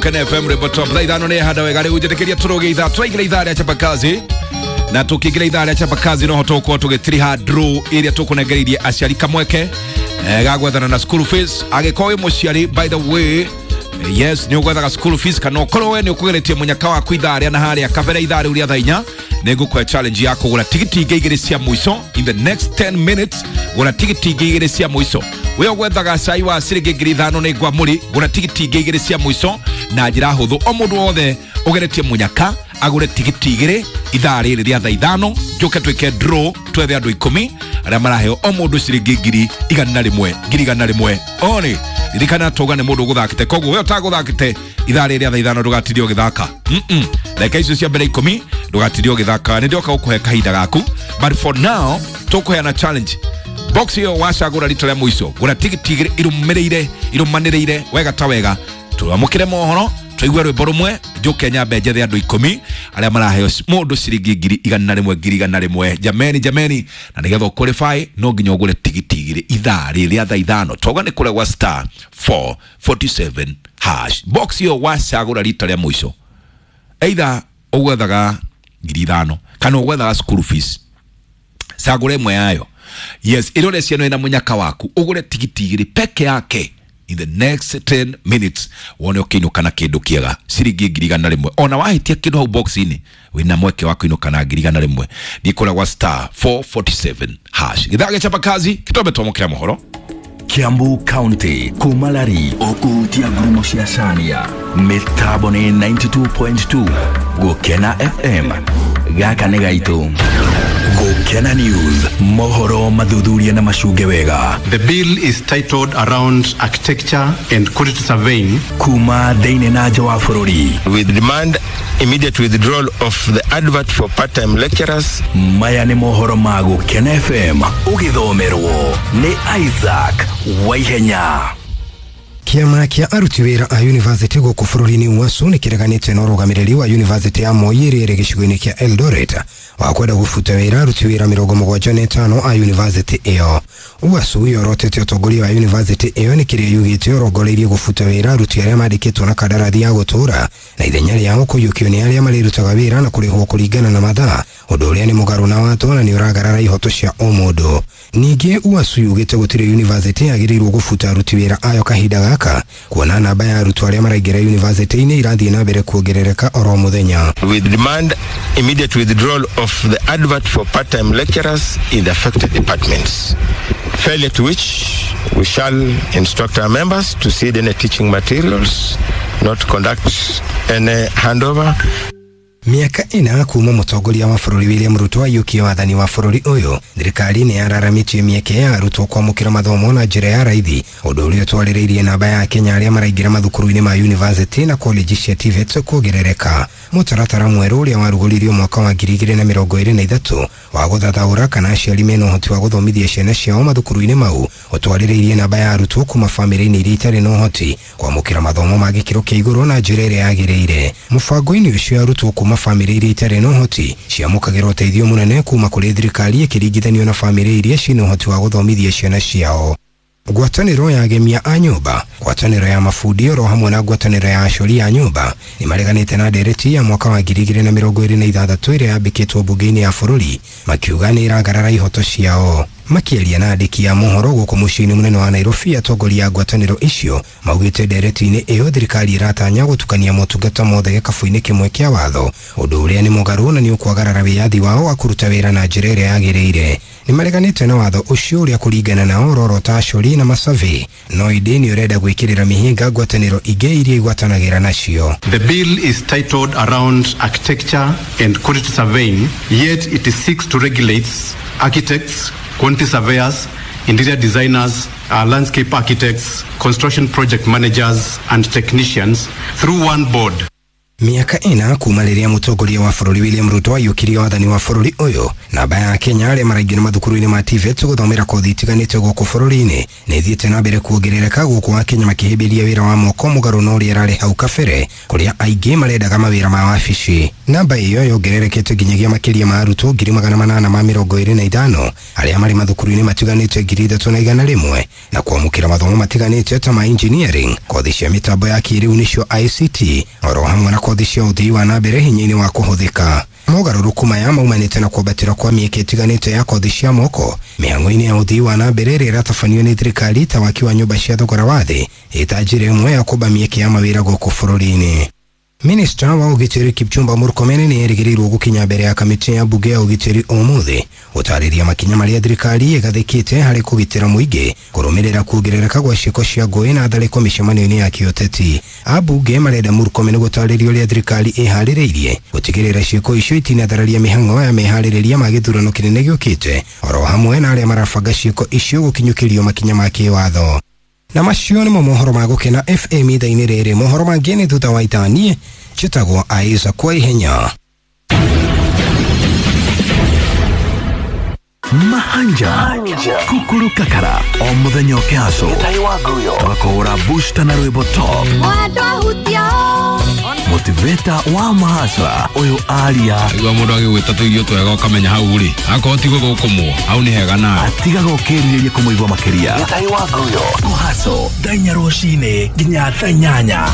Kene FM rwĩmbo top thaa 5 nĩ handa wega rĩu njĩtĩkĩria tũrũge ithaa tũraingĩra ithaa rĩa chapakazi na tũkĩingĩra ithaa rĩa chapakazi noho tũgũkorwo tũgĩtiriha draw ĩrĩa tũkũnengereirie aciari kamweke ga gwethana na school fees. Angĩkorwo wĩ mũciari, by the way, yes, nĩ ũgwethaga school fees kana ũkorwo we nĩ ũkũgeretie mũnyaka waku ithaa rĩa na harĩa kabere ithaa rĩu rĩa thaa 4, nĩ ngũkũhe challenge ya kũgũra tigiti ingĩ 2 cia mũico in the next 10 minutes. Gũra tigiti ingĩ 2 cia mũico. We ũgwethaga cai wa ciringi 5,000 nĩ ngwamũri, gũra tigiti ingĩ 2 cia mũico na njĩra hũthũ. O mũndũ wothe ũgeretie mũnyaka agũre tigiti 2 ithaa rĩrĩ rĩa thaa 5, njũke twĩke draw twethe andũ 10 arĩa maraheo o mũndũ ciringi 100,000 100,000. One ririkana tauga nĩ mũndũ ũgũthakĩte, koguo we ũtagũthakĩte ithaa rĩrĩ rĩa thaa 5 ndũgatirie ũgĩthaka. Ndagĩka icio cia mbere 10 ndũgatirie ũgĩthaka, nĩ ndĩoka gũkũhe kahinda gaku, but for now tũkũheana challenge. Box ĩyo wacagũra rita rĩa mũico, gũra tigiti 2 irũmĩrĩire irũmanĩrĩire wega ta wega, tũamũkĩre mohoro tũigue rwĩmbo rũmwe, njũke nyambe njethe andũ 10 arĩa maraheo mũndũ ciringi 100,000 100,000. Jameni jameni, na nĩgetha ũqualify no nginya ũgũre tigiti 2 ithaa rĩrĩ rĩa thaa 5. Toga nĩ kũrĩa gwa star 447 hash. Box ĩyo wacagũra rita rĩa mũico, either ũgwethaga 5,000 kana ũgwethaga school fees, cagũra ĩmwe yayo. Yes, ĩrore ciana ĩna mũnyaka waku ũgũre tigiti 2 peke yake in the next 10 minutes, wone ũkĩinũka na kĩndũ kĩega ciringi 100,000. Ona wahĩtia kĩndũ hau box-inĩ wĩna mweke wa kũinũka na 100,000. Ndikũrĩa gwa star 447 hash. Gĩthaa gĩa chapakazi kĩtombe twamũkĩra mohoro. Kiambu County kumalari okuhutia ngurumo cia Caria mĩtambo nĩ 92.2 Gũkena FM gaka nĩ gaitũ. Gũkena News, mohoro mathuthuria na macunge wega. The bill is titled around architecture and quantity surveying. Kuma thĩinĩ na nja wa bũrũri. We demand immediate withdrawal of the advert for part-time lecturers. Maya nĩ mohoro ma Gũkena FM ũgĩthomerwo nĩ Isaac Waihenya. Kĩama kĩa aruti wĩra a university gũkũ bũrũri-inĩ UASU nĩ kĩreganĩte na ũrũgamĩrĩri wa university ya Moi ĩrĩa ĩrĩ gĩcigo-inĩ kĩa Eldoret wa kwenda gũbuta wĩra aruti wĩra 75 a university ĩyo. UASU yorotete ũtongoria wa university ĩyo nĩ kĩrĩa yugĩte ũrongoreirie gũbuta wĩra aruti arĩa mandĩkĩtwo na kandarathi ya gũtũũra na ithenya rĩao kũiyũkio nĩ arĩa marĩrutaga wĩra na kũrĩhwo kũringana na mathaa, ũndũ ũrĩa nĩ mũgarũ na watho na nĩ ũragarara ihoto cia ũmũndũ. Ningĩ UASU yugĩte gũtirĩ university yagĩrĩirwo gũbuta aruti wĩra ayo kahinda gaka, kuona namba ya arutwo arĩa maraingĩra university-inĩ irathiĩ na mbere kuongerereka oro mũthenya. We demand immediate withdrawal of the advert for part-time lecturers in the affected departments. Failure to which we shall instruct our members to seed any teaching materials, not conduct any handover. Mĩaka 4 kuma mũtongoria wa bũrũri William Ruto aiyũkie wathani wa bũrũri ũyũ, thirikari nĩ yararamĩtie mĩeke ya arutwo kwamũkĩra mathomo na njĩra ya raithi, ũndũ ũrĩa ũtwarĩrĩirie namba ya Kenya arĩa maraingĩra mathukuru-inĩ ma university na college cia TVET kuongerereka. Mũtaratara mwerũ ũrĩa warugũririo mwaka wa 2023 wa gũthathaũra kana aciari mena ũhoti wa gũthomithia ciana ciao mathukuru-inĩ mau ũtwarĩrĩirie namba ya arutwo kuma bamĩrĩ-inĩ iria itarĩ na ũhoti kwamũkĩra mathomo ma gĩkĩro kĩa igũrũ na njĩra ĩrĩa yagĩrĩire. Mũbango-inĩ ũcio arutwo kuma bamĩrĩ iria itarĩ na ũhoti ciamũkagĩra ũteithio mũnene kuma kũrĩ thirikari ĩkĩringithanio na bamĩrĩ iria ciĩna ũhoti wa gũthomithia ciana ciao. Ngwatanĩro ya agemia a nyũmba, ngwatanĩro ya mabundi oro hamwe na ngwatanĩro ya acori a nyũmba nĩ mareganĩte na ndereti ya mwaka wa 2026 ĩrĩa yambĩkĩtwo mbunge-inĩ ya bũrũri, makiuga nĩ ĩragarara ihoto ciao. Makĩaria na andĩki a mohoro gũkũ mũciĩ-inĩ mũnene wa Nairobi, atongoria a ngwatanĩro icio maugĩte ndereti-inĩ ĩyo thirikari ĩratanya gũtukania motungata mothe gĩkabũ-inĩ kĩmwe kĩa watho, ũndũ ũrĩa nĩ mũgarũ na nĩ ũkwagarara wĩyathi wao wa kũruta wĩra na njĩra ĩrĩa yagĩrĩire. Nĩ mareganĩte na watho ũcio ũrĩa kũringana nao ũrorota acori na masurvey, no ĩndĩ nĩ ũrenda gwĩkĩrĩra mĩhĩnga ngwatanĩro ingĩ iria igwatanagĩra nacio. The bill is titled around architecture and quantity surveying, yet it seeks to regulate architects, quantity surveyors, interior designers, landscape architects, construction project managers and technicians through one board. Mĩaka 4 kuma rĩrĩa mũtongoria wa bũrũri William Ruto aiyũkirie wathani wa bũrũri ũyũ, namba ya Kenya arĩa maraingĩra mathukuru-inĩ ma TVET gũthomera kothi itiganĩte gũkũ bũrũri-inĩ nĩ ĩthiĩte na mbere kuongerereka gũkũ Akenya makĩhĩmbĩria wĩra wa moko mũgarũ na ũrĩa ĩrarĩ hau kabere, kũrĩa aingĩ marendaga mawĩra ma wabici. Namba ĩyo yongererekete nginyagia makĩria ma arutwo 825,000 arĩa marĩ mathukuru-inĩ matiganĩte 3,100 na kwamũkĩra mathomo matiganĩte ta ma engineering, kothi cia mĩtambo ya kĩrĩu nĩcio ICT, oro hamwe na kothi cia ũthii wa na mbere hinya-inĩ wa kũhũthĩka. Mogarũrũku maya maumanĩte na kwambatĩra kwa mĩeke ĩtiganĩte ya kothi cia moko mĩhang'o-inĩ ya ũthii wa na mbere ĩrĩa ĩratabanio nĩ thirikari ta waki wa nyũmba cia thogora wa thĩ ĩta njĩra ĩmwe ya kũmba mĩeke ya mawĩra gũkũ bũrũri-inĩ. Minista wa ũgitĩri Kipchumba Murkomen nĩ erĩgĩrĩirwo gũkinya mbere ya kamĩtĩ ya mbunge ya ũgitĩri ũmũthĩ gũtarĩria makinya marĩa thirikari ĩgathĩkĩte harĩ kũgitĩra mũingĩ kũrũmĩrĩra kuongerereka gwa ciĩko cia ngũĩ na tharĩko mĩcemanio-inĩ ya kĩũteti. Ambunge marenda Murkomen gũtarĩria ũrĩa thirikari ĩharĩrĩirie gũtigĩrĩra ciĩko icio itinathararia mĩhang'o ya meharĩrĩria ma gĩthurano kĩnene gĩũkĩte oro hamwe na arĩa marabanga ciĩko icio gũkinyũkĩrio makinya ma kĩwatho. Na macio nĩmo mohoro ma Gũkena FM ithaa-inĩ rĩrĩ. Mohoro mangĩ nĩ thutha wa ithaa. Niĩ njĩtagwo Isaac kwa ihenya. Mahanja Kukuru Kakara o muthenya ũkĩhaco tũgakũhũra booster na rwĩmbo top motivator wa mahasra ũyũ aria Igua mũndũ agĩgwĩta tũirio twega ũkamenya hau rĩ akorwo ti gũthũkũmwo hau nĩ hega nawe atigaga ũkĩrirĩria kũmũigua makĩria. Kũhaco thaa 4 rũcinĩ nginya thaa 8.